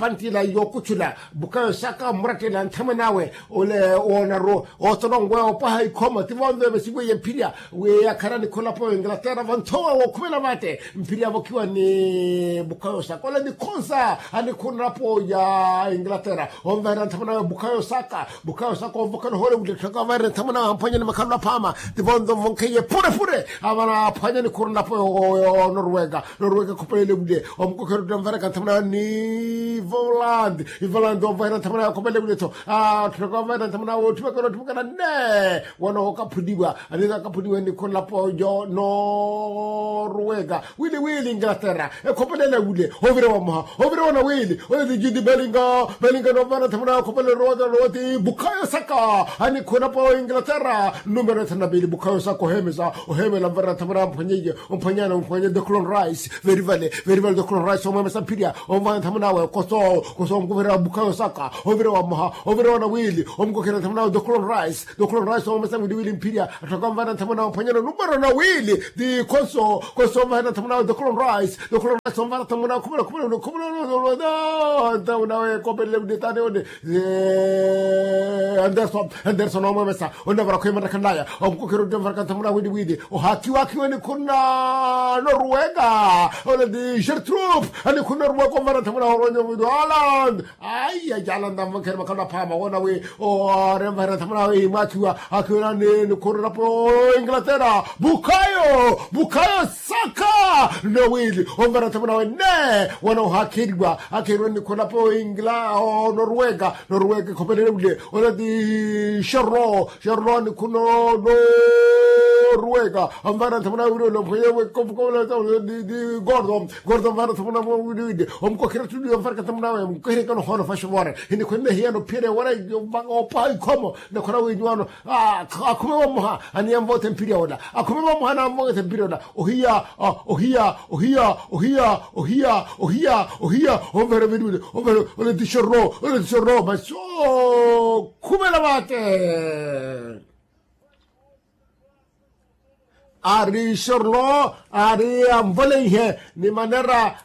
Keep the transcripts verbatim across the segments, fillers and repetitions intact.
kapantila yookutthula. Bukayo saka murattela nthamwan'awe ole woonaru ootolonweya opwaha ikhoma ti vonve vesiweiye mphirya wi yakhala nikhulapo inglaterra vanthowa wookhumela vate. Mphirya avokhiwa ni bukayo saka ole nikhonsa anikhunlapo ya inglaterra onvahela nthamwan'awe bukayo saka. Bukayo saka onvokela ohoole wule tthaka onvahela nthamwan'awe amphwanya ni makhalelo aphaama. Ti vonve onvonkeiye pure pure avana aphwanya nikhunlapo yo noruweka. Noruweka ekhopelele wule omukokhera oti onvahelaka nthamwan'awe ni ivolandi. Ivolandi onvahela nthamwan'awe ekhopelele wule tho. Atthaka onvahela nthamwan'awe otthimekela otthimekela ne wana okaphuniwa. Anina akaphuniwa nikhunlapo yo noruweka wili wili inglaterra. Ekhopelele wule ovira wamoha ovira wana wili. Ole ti judi belinga belinga novana thamuna khopele rowata rowati bukayo saka anikhuna pa inglaterra. Numero thana na pili bukayo saka ohemesa ohemela mvara thamuna mphwanyeye omphwanyana omphwanye the clone rice. Verivale verivale the clone rice omwemesa mphirya omvana thamunawe koso koso omkuverera bukayo saka ovira wamoha ovira wana wili omkukhera thamunawe the clone rice. Dokhulo nraisa omesa wiliwili mphirya atthaka onvana nthamuna omphwanyana numero na wili. Ti khonso khonso onvahana nthamuna dokhulo nraisa dokhulo nraisa onvana nthamuna khumela khumela khumela nthamuna wekopelele wili tani one. Anderson anderson omwemesa onavara khwemanakhanaya omukokhera oti onvaraka nthamuna wiliwili ohakiwa akiwe nikhuna noruweka. Ole ti gertrup anikhuna noruweka onvana nthamuna horonya wili holland. Aiya jala ntamvonkhele makhalelo aphaama woona wi oremvahela nthamuna awe imwaakhiwa akhiwelani nikhurelapo inglaterra. Bukayo bukayo saka nowili onvana nthamuna awe ne wana ohaakheriwa akheeriwa nikhurelapo ingla noruweka. Noruweka ekhopelele wule onati sherlo sherlo nikhuna noruweka. Onvana nthamuna awe wili ole omphwenye wekofukofuko gordo gordo onvana nthamuna awe wili wili omukokhera tuli onvaraka nthamuna awe mukoherekano hono fashiwore. Hinikhwenene hiyano phiyene wala opwaha ikhomo nakhona wenyu wano akhume vamoha aniyamvote mpirya ola akhume vamoha anamvote mpirya ola. Ohiya ohiya ohiya ohiya ohiya ohiya ohiya onvere veniwile onvere. Ole ti shorro ole ti shorro masi okhumela vate. Ari shorlo ari anvoleihe ni manera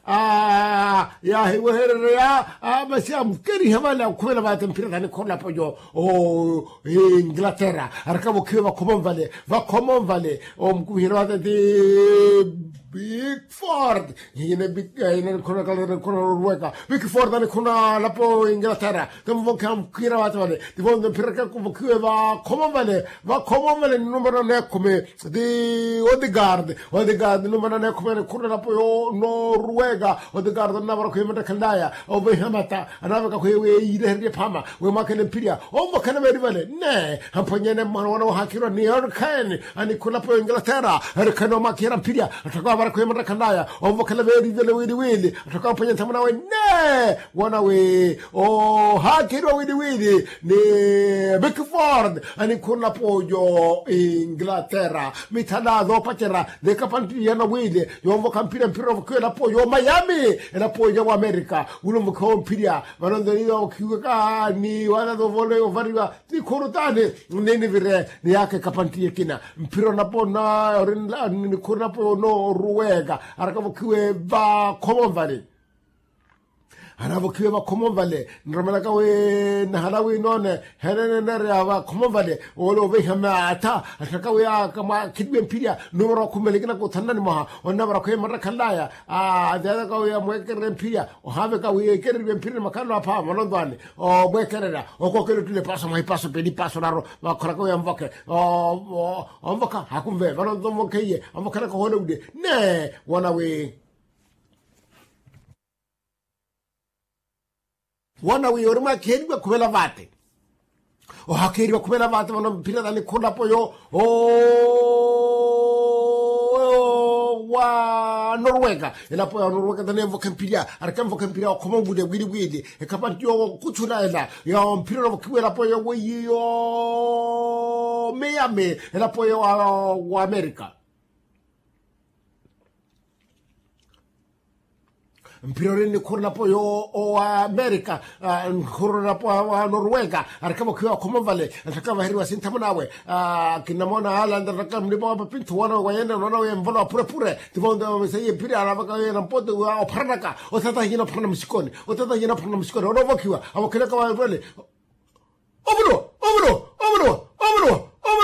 yahiweherereya. Masi amukerihe vale akhuvela vate mphira tani kholapo yo inglaterra arakavokhiwe vakhomon vale vakhomon vale. Omukuviherya vate ti big ford ine big ine nikhona kalere nikhona ruweka big ford anikhona lapo inglaterra. Temuvokhe amukhira vate vale tivonze mphira rakavokhiwe vakhomon vale vakhomon vale ni numero nekhumi. Ti odegaard odegaard numero nekhumi anikhurela lapo yo noruweka. Odegaard anavara khwimata khalaya oveha mata anaveka khwewe irehererye phama wemwakhele mphirya. Omvakhele veri vale ne amphwanyene mwana wana wahakirwa ni erikhen anikhurela lapo yo inglaterra. Erikhen omwakhiyera mphirya atthaka wavara khwimata khalaya omvakhele veri vale wili wili. Atthaka amphwanyene nthamuna awe ne wana wi ohaakeriwa wili wili ni bikford anikhuna lapo yo inglaterra. Mithala zoopacerya ni kapantiya nawili yonvokha mphirya mphirya ovokiwa elapo yo miami elapo ya wamerika. Wili onvokhiwa mphirya vano nzoni yovokhiweka ni wana zovole yovariwa nikhuru tani ninivire niyaka ekapantiya ekina. Mphirya onapo na ori nikhuru napo nooruweka arakavokhiwe vakhomon vale. Anavokhiwe vakhomo vale. Nromelaka wi nahala wi noone henene nereya vakhomo vale. Ole oveiha maatha athaka wi akamwakheliwe mphirya. Numero wakhumele kina kuthanani mwaha onavara khweya marakhalaya. Atheyaka wi amwekererye mphirya ohaveka wi ekereriwe mphirya ni makhalelo apha malondwani. Omwekererya okokele ottule paso mwahipaso peli paso naro. Vakhoraka wi amvokhe onvokha hakumve vano nto mvokheiye. Amvokheraka ohoole wule ne wona wi wona wi ori mwakheriwa khuvela vate. Ohakheriwa khuvela vate vano mphira tani khulapo yo wa norweka. Elapo ya norweka tani emvokha mphirya arikemvokha mphirya okhoma ovule wili wili ekhapa nti yo kuchula ela ya mphira novokhiwa elapo yo weiyi yo miyami elapo yo wa amerika. Mphira ori nikhurulapo yo owa amerika. Nikhurulapo wa norweka arikavokhiwa okhoma ovale. Anthaka vaheriwa sinthamu nawe kinamoona alandarataka mlipa wa papinthu wona wayene noona wemvola wa phurephure. Tivonde wamesaiye mphira aravaka yena mpote wa opharanaka. Otata hiyena opharana musikoni. Otata hiyena opharana musikoni onovokhiwa avokhelaka vale. Ovulo ovulo ovulo ovulo.